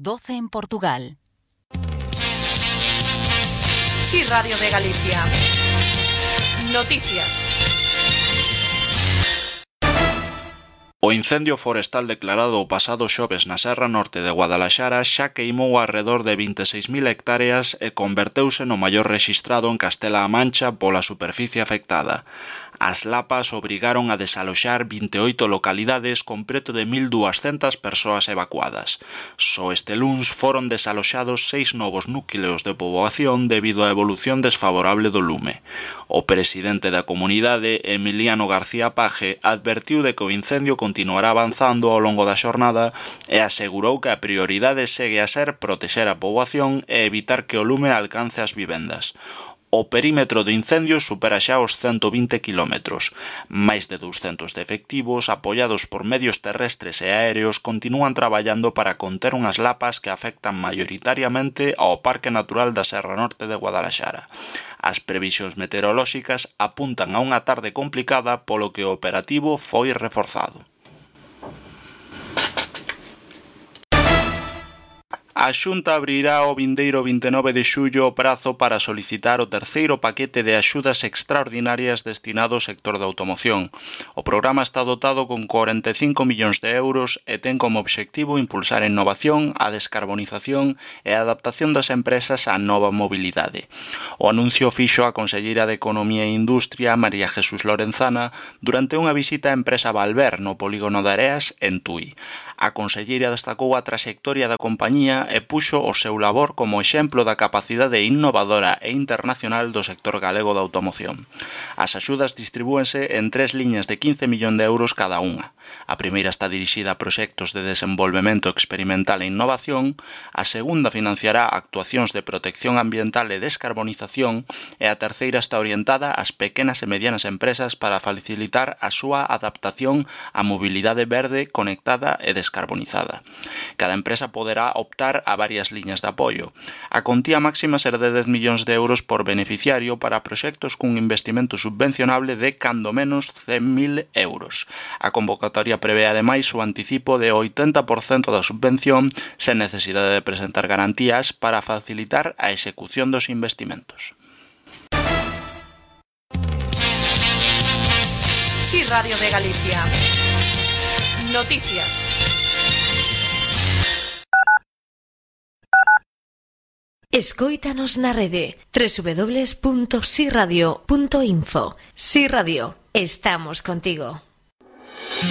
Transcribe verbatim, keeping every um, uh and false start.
doce en Portugal. Sí, Radio de Galicia. Noticias. O incendio forestal declarado o pasado xoves na Serra Norte de Guadalaxara xa queimou arredor de vinte e seis mil hectáreas e converteuse no maior rexistrado en Castela-A Mancha pola superficie afectada. As lapas obrigaron a desaloxar vinte e oito localidades con preto de mil duascentas persoas evacuadas. Só este luns foron desaloxados seis novos núcleos de poboación debido á evolución desfavorable do lume. O presidente da comunidade, Emiliano García Paje, advertiu de que o incendio continuará avanzando ao longo da xornada e asegurou que a prioridade segue a ser protexer a poboación e evitar que o lume alcance as vivendas. O perímetro do incendio supera xa os cento vinte quilómetros. Máis de douscentos de efectivos, apoiados por medios terrestres e aéreos, continúan traballando para conter unhas lapas que afectan maioritariamente ao Parque Natural da Serra Norte de Guadalaxara. As previsións meteorolóxicas apuntan a unha tarde complicada polo que o operativo foi reforzado. A Xunta abrirá o vindeiro vinte e nove de xullo o prazo para solicitar o terceiro paquete de axudas extraordinarias destinado ao sector da automoción. O programa está dotado con corenta e cinco millóns de euros e ten como obxectivo impulsar a innovación, a descarbonización e a adaptación das empresas á nova mobilidade. O anuncio fixo a conselleira de Economía e Industria, María Jesús Lorenzana, durante unha visita á empresa Valver no polígono de Areas, en Tui. A conselleira destacou a traxectoria da compañía e puxo o seu labor como exemplo da capacidade innovadora e internacional do sector galego da automoción. As axudas distribúense en tres liñas de quince millóns de euros cada unha. A primeira está dirixida a proxectos de desenvolvemento experimental e innovación, a segunda financiará actuacións de protección ambiental e descarbonización e a terceira está orientada ás pequenas e medianas empresas para facilitar a súa adaptación á mobilidade verde, conectada e descarbonizada. Cada empresa poderá optar a varias liñas de apoio. A contía máxima será de dez millóns de euros por beneficiario para proxectos cun investimento subvencionable de cando menos cen mil euros. A convocatoria prevé ademais o anticipo de oitenta por cento da subvención sen necesidade de presentar garantías para facilitar a execución dos investimentos. Sí, Radio de Galicia. Noticias. Escóitanos na rede doble u doble u doble u punto si radio punto info. Si Radio, estamos contigo.